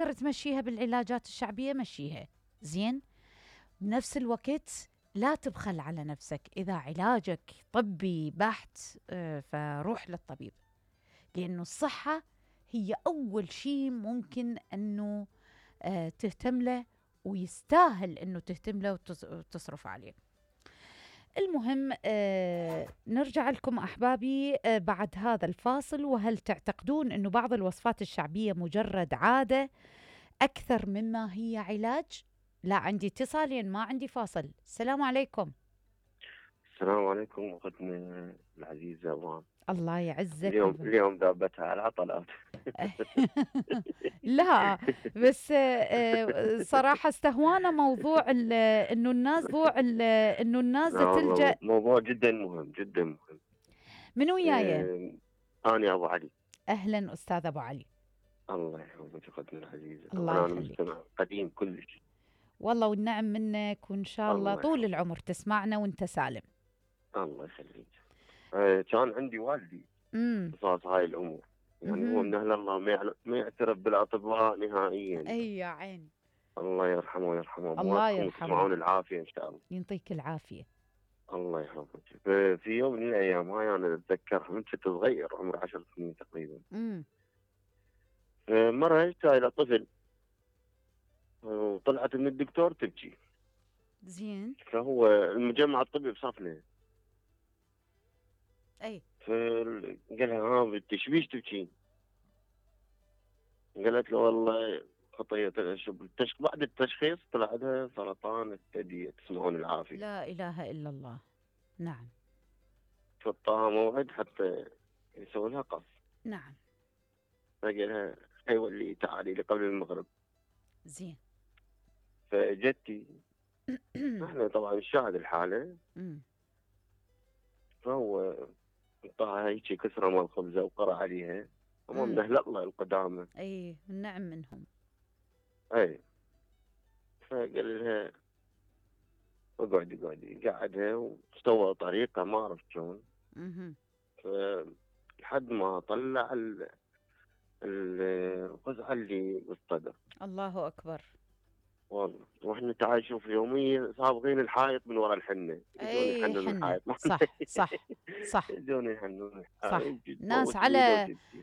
تقدر تمشيها بالعلاجات الشعبية مشيها، زين. بنفس الوقت لا تبخل على نفسك، إذا علاجك طبي بحت فروح للطبيب، لأنه الصحة هي أول شيء ممكن أنه تهتم له، ويستاهل أنه تهتم له وتصرف عليه. المهم نرجع لكم أحبابي بعد هذا الفاصل. وهل تعتقدون أنه بعض الوصفات الشعبية مجرد عادة أكثر مما هي علاج؟ لا، عندي اتصالين ما عندي فاصل. السلام عليكم. السلام عليكم أختنا العزيزة أبوان. الله يعزك. اليوم ذابتها على العطلات. لا بس صراحة استهوانا موضوع انه الناس تلجأ. موضوع جدا مهم جدا مهم. من وياي؟ أنا أبو علي. أهلا أستاذ أبو علي. الله يحفظك أختنا العزيزة. الله أنا مستمع قديم كلش والله، والنعم منك، وإن شاء الله طول العمر تسمعنا وانت سالم. الله يخليك. كان عندي والدي قصاص هاي الأمور، يعني هو من أهل الله ما يعترف بالأطباء نهائيا. أي يا عيني. الله يرحمه ويرحمه. الله يرحمه. تسمعون العافية إن شاء الله. ينطيك العافية. الله يحفظك. في يوم من الأيام هاي أنا أتذكر من كنت صغير، عمري 10 سنين تقريبا. مرة جاي إلى طفل وطلعت من الدكتور تبكي. زين. فهو المجمع الطبي بصفنا. أي. فقال لها بيش تبكين؟ قالت له والله خطية بعد التشخيص طلع لها سرطان الثدي. تسمعون العافية. لا إله إلا الله. نعم. فطاها موعد حتى يسوي لها قص. نعم. فقال لها ايوه اللي تعالي لي قبل المغرب. زين. فجتي احنا طبعا نشاهد الحالة. فهو طاها هيك كسرة مال خبزة وقرأ عليها. هم من أهل الله القدامى. اي النعم منهم. اي. فقال لها اقعدي قعدها واستوى طريقة ما اعرف شلون. لحد ما طلع القزعة اللي بالصدر. الله أكبر. والله واحنا تعال شوف يوميا صابغين الحائط من وراء الحنة. اي حنة. صح. يجون يحنون صح. الحائط. ناس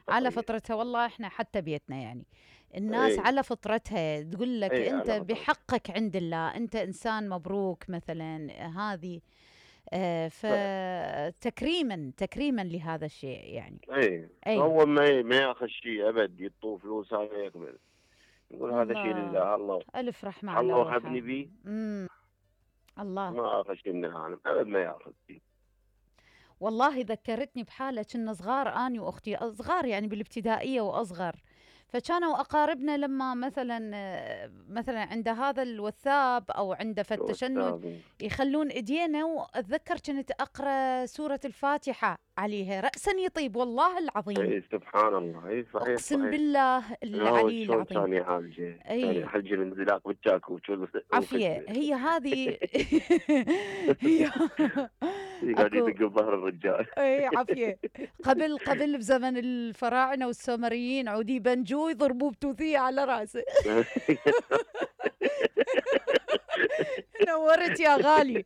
على فطرتها. والله احنا حتى بيتنا يعني الناس على فطرتها تقول لك انت بحقك عند الله، انت انسان مبروك مثلا. هذه فتكريما لهذا الشيء يعني. اي هو ما ياخذ شيء ابد، يطوف فلوس هذا يقبل، يقول هذا شيء لله. الله الف رحمه على الله وهبني بيه. الله ما اخذ شيء من العالم ابد، ما ياخذ شيء. والله ذكرتني بحاله كنا صغار اني واختي، صغار يعني بالابتدائيه واصغر، فكانوا اقاربنا لما مثلا عند هذا الوثاب او عند التشنج يخلون ايدينا، واتذكر كنت اقرا سوره الفاتحه عليها راسا يطيب. والله العظيم. اي سبحان الله. اي صحيح. اقسم بالله العلي العظيم. كان يعالجه. كان حلج الانزلاق بالجاكو. عافيه. هي هذه هي قاعد يدق بظهر الرجال. اي عافيه. قبل بزمن الفراعنه والسومريين عودي بنجو يضربوه بتوثيه على راسه. نورت يا غالي.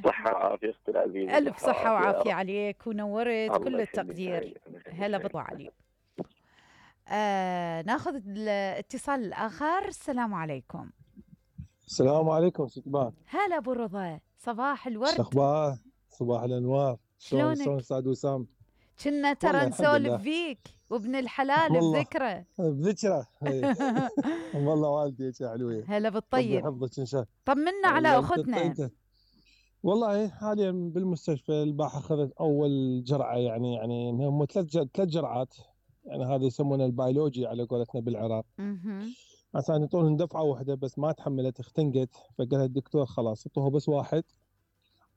صحة وعافية اختي العزيزة. الف صحة وعافية عليك، ونورت كل التقدير. هلا بابو علي. ناخذ الاتصال الاخر. السلام عليكم. السلام عليكم ستبان. هلا ابو رضا، صباح الورد. شو اخبار؟ صباح الانوار. شلونك؟ استاذ وسام؟ كنا ترى نسولف فيك وابن الحلال بذكره. بذكره. والله والدي حلوه. هلا بالطيب. يحفظك ان شاء الله. طمنا على اختنا. والله حاليا بالمستشفى. البارحه اخذت اول جرعه، يعني هم ثلاث جرعات، يعني هذا يسمونه البيولوجي على قولتنا بالعراق. عشان يعطون دفعه واحده بس ما تحملت، اختنقت. فقال الدكتور خلاص اعطوها بس واحد،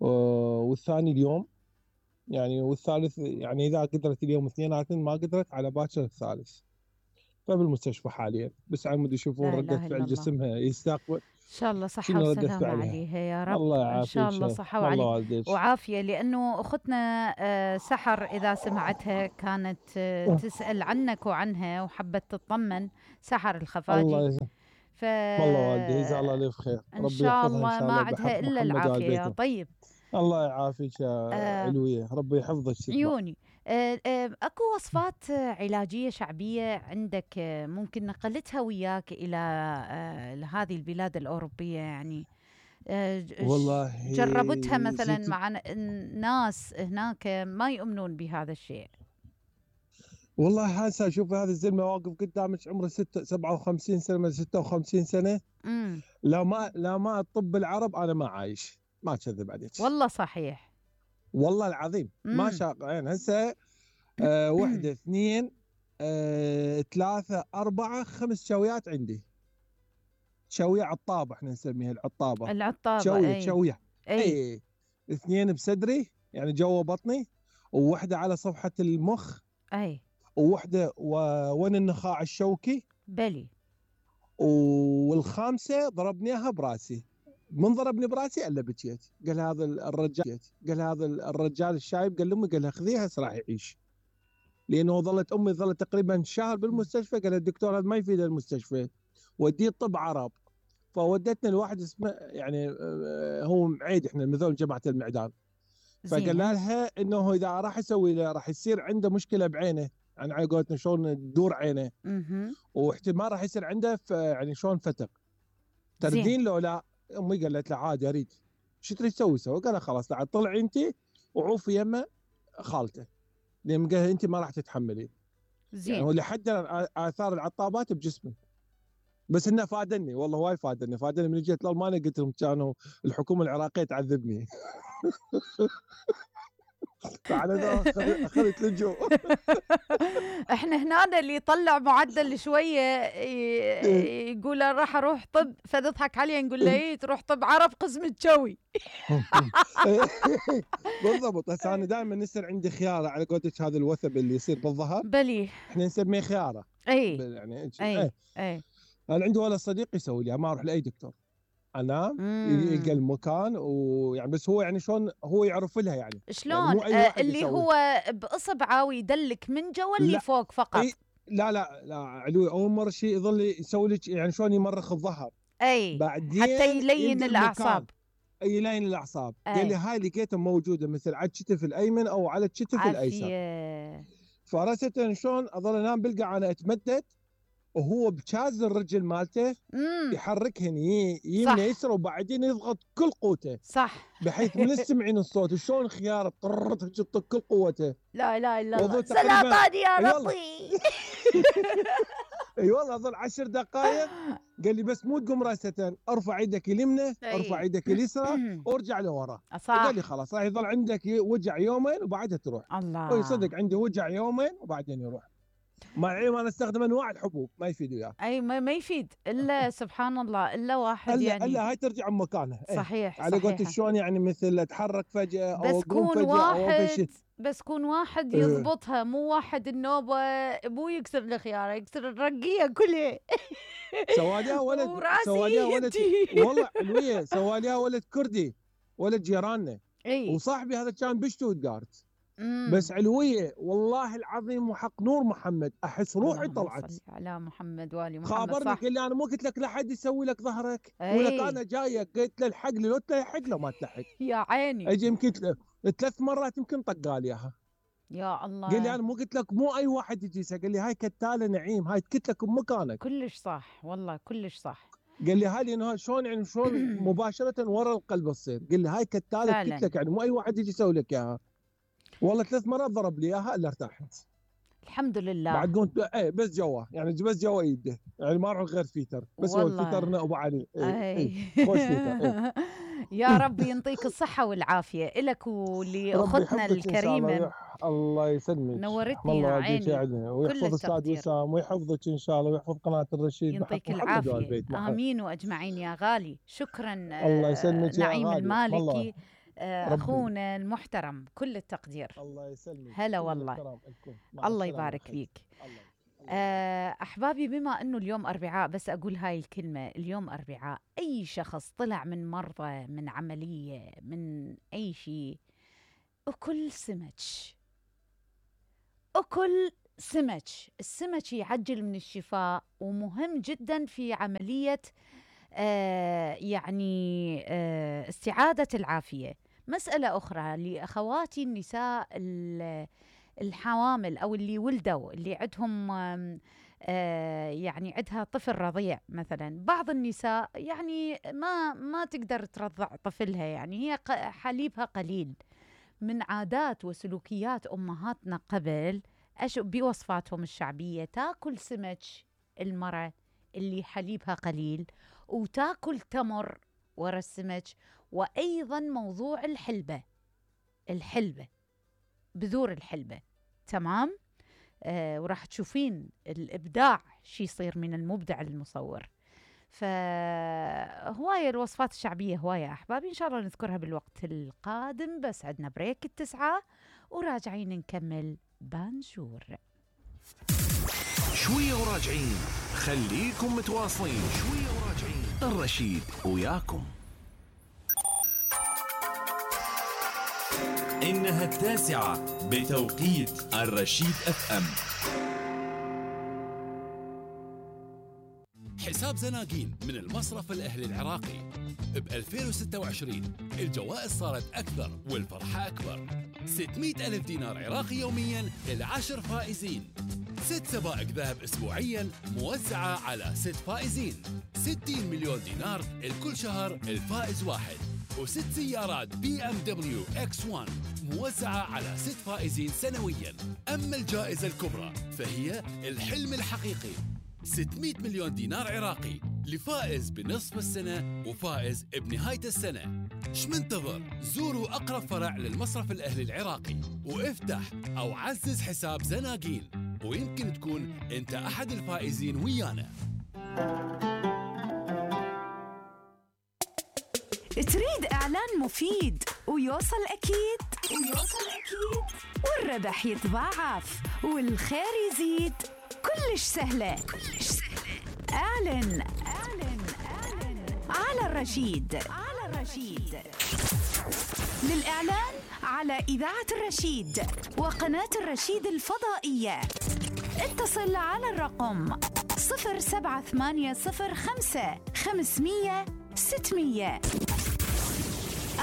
والثاني اليوم يعني، والثالث يعني اذا قدرت اليوم اثنيناتن، ما قدرت على باكر الثالث. فبالمستشفى حاليا، بس عمود يشوفون ردة فعل جسمها يستقبل. ان شاء الله صحة وسلامة عليها يا رب. الله ان شاء الله صحة وعافية. لانه اختنا سحر اذا سمعتها كانت تسأل عنك وعنها وحبت تطمن، سحر الخفاجي. والله والدي جزاه الله الف خير، ان شاء الله ما عندها الا العافية يا طيب. الله يعافيك يا علوية، ربي يحفظك. عيوني. اكو وصفات علاجية شعبية عندك ممكن نقلتها وياك الى هذه البلاد الأوروبية يعني؟ والله جربتها مثلا مع الناس هناك ما يؤمنون بهذا الشيء. والله هسه شوف هذا الزلمه واقف قدامك عمره 57 سنه من 56 سنه. لا ما الطب العرب انا ما عايش، ما اكذب عليك. والله صحيح. والله العظيم ما شاق يعني. هسه واحدة 2 3 4 5 شويات عندي. شوية عطابة احنا نسميها العطابة. شوية اي 2 بصدري يعني جوا بطني، وواحدة على صفحة المخ، اي وواحدة وين النخاع الشوكي بلي، والخامسة ضربنيها براسي. من ضربني براسي الا بكيت. قال هذا الرجال الشايب قال لامي، قال لها خذيها هسه راح يعيش. لانه امي ظلت تقريبا شهر بالمستشفى. قال الدكتور هذا ما يفيد المستشفى، وديه طب عرب. فودتنا لواحد اسمه يعني هو معيد، احنا مثل جماعه المعدان. فقال لها انه اذا راح يسوي له راح يصير عنده مشكله بعينه، يعني على قولتنا شلون تدور عينه، واحتمال راح يصير عنده يعني شلون فتق. تردين لو لا؟ امي قالت له عادي اريد. شو تريد تسوي؟ قال لها خلاص تعال طلعي انت وعوفي يمه خالته، لان قال انت ما راح تتحملين. زين. يعني ولحد اثار العطابات بجسمي، بس انه فادني والله، وايد فادني من جيت لالمانيا. قلت لهم كانوا الحكومه العراقيه تعذبني. فعلى اخذت لجوء. احنا هنا اللي يطلع معدل شويه يقول راح اروح طب، فتضحك عليه نقول له ايه تروح طب عرب قسم الجوي. بالضبط. هسه انا دائما يصير عندي خياره على قولتك، هذا الوثب اللي يصير بالظهر بلي احنا نسميه خياره. يعني اي انا عندي ولا صديق يسوي لي، ما اروح لاي دكتور، انام يلقى المكان ويعني بس هو يعني شلون هو يعرف لها يعني شلون يعني اللي هو باصبعه ويدلك من جوا اللي فوق فقط. لا علوي اول مره شيء يظل يسوي لك يعني شلون يمرخ الظهر، بعدين حتى يلين الاعصاب. يلين الاعصاب. قال لي هاي لقيتها موجوده مثل على الكتف الايمن او على الكتف الايسر. فرست شلون اظل انام بلقى انا اتمدد وهو بشاز الرجل مالته يحركهن يمنى يسرى، وبعدين يضغط كل قوته، صح، بحيث من تسمعين الصوت شلون خيار تحط كل قوته. لا اله الا الله، سلطان يا ربي. اي والله اظل 10 دقائق. قال لي بس مو تقوم راسة، ارفع يدك اليمنى ارفع يدك اليسرى وارجع لورا. قال لي خلاص راح يظل عندك وجع يومين وبعدها تروح. الله صدق عندي وجع يومين وبعدين يروح. مع العلم انا استخدم انواع الحبوب ما يفيد وياه. اي ما يفيد الا سبحان الله الا واحد يعني الا هاي ترجع مكانها. صحيح على قولت شلون يعني مثل اتحرك فجاه او بس كون واحد بس كون واحد يضبطها، مو واحد النوبه مو يكسر الخياره يكسر الرقيه كلها. سواليها ولد والله علويه سواليها ولد كردي ولد جيراننا. وصاحبي هذا كان بشتوتغارت. بس علويه والله العظيم وحق نور محمد احس روحي طلعت. على محمد والي محمد. خابرني قال لي انا مو قلت لك لا حد يسوي لك ظهرك ولك انا جايك. قلت له الحق لي، لو تلحق له ما تلحق. يا عيني اجي يمكن 3 مرات يمكن طقال اياها. يا الله. قال لي انا مو قلت لك مو اي واحد يجيسها. قال لي هاي كتاله نعيم، هاي تكت لك بمكانك. كلش صح والله كلش صح. قال لي هاي انه شلون يعني شلون مباشره ورا القلب تصير. قال لي هاي كتاله تكت لك يعني مو اي واحد يجي يسوي لك اياها. والله 3 مرات ضرب لي اياها الا ارتحت الحمد لله. بعد قلت بس جوا يعني بس جوا يده يعني ما اروح غير فيتر بس هو الفيتر ابو علي. خوش فيتر. يا رب ينطيك الصحه والعافيه الك ولاختنا الكريمه. الله يسلمك، نورتني يا عيني. ويحفظ استاذ وسام ويحفظك ان شاء الله ويحفظ قناه الرشيد. يعطيك العافيه. امين واجمعين يا غالي. شكرا. الله يسلمك نعيم المالكي اخونا المحترم، كل التقدير. الله يسلمك. هلا والله. الله يبارك فيك. أحبابي، بما أنه اليوم أربعاء، بس أقول هاي الكلمة، اليوم أربعاء، أي شخص طلع من مرضى، من عملية، من أي شيء، أكل سمك. السمك يعجل من الشفاء، ومهم جدا في عملية يعني استعادة العافية. مسألة أخرى لأخواتي النساء الحوامل أو اللي ولدوا، اللي عندهم يعني عندها طفل رضيع مثلا. بعض النساء يعني ما تقدر ترضع طفلها، يعني هي حليبها قليل. من عادات وسلوكيات أمهاتنا قبل بوصفاتهم الشعبية تاكل سمك المرأة اللي حليبها قليل، وتاكل تمر ورا السمك، وأيضا موضوع الحلبة، بذور الحلبة. تمام. وراح تشوفين الإبداع شي يصير من المبدع المصور. فهواية الوصفات الشعبية هواية أحبابي، إن شاء الله نذكرها بالوقت القادم. بس عندنا بريك 9 وراجعين نكمل بانجور. شوية وراجعين، خليكم متواصلين. شوية وراجعين، الرشيد وياكم. إنها 9 بتوقيت الرشيد FM. حساب زناقين من المصرف الأهلي العراقي. ب 2026 الجوائز صارت أكثر والفرحة أكبر. 600,000 دينار عراقي يومياً ل10 فائزين. 6 سبائك ذهب أسبوعياً موزعة على 6 فائزين. 60 مليون دينار لكل شهر الفائز واحد. و6 سيارات BMW X1 موزعة على 6 فائزين سنوياً. أما الجائزة الكبرى فهي الحلم الحقيقي، 600 مليون دينار عراقي لفائز بنصف السنة وفائز بنهاية السنة. شمنتظر؟ زوروا أقرب فرع للمصرف الأهلي العراقي وافتح أو عزز حساب زناقين، ويمكن تكون أنت أحد الفائزين ويانا. تريد إعلان مفيد ويوصل أكيد والربح يتضاعف والخير يزيد؟ كلش سهلة. اعلن على الرشيد. للإعلان على إذاعة الرشيد وقناة الرشيد الفضائية اتصل على الرقم 07805 500 600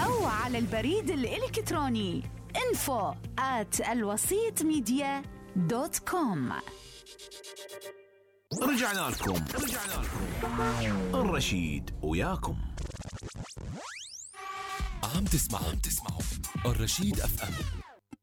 أو على البريد الإلكتروني info@alwasitmedia.com. رجعنا لكم. الرشيد وياكم. عم تسمعوا الرشيد FM.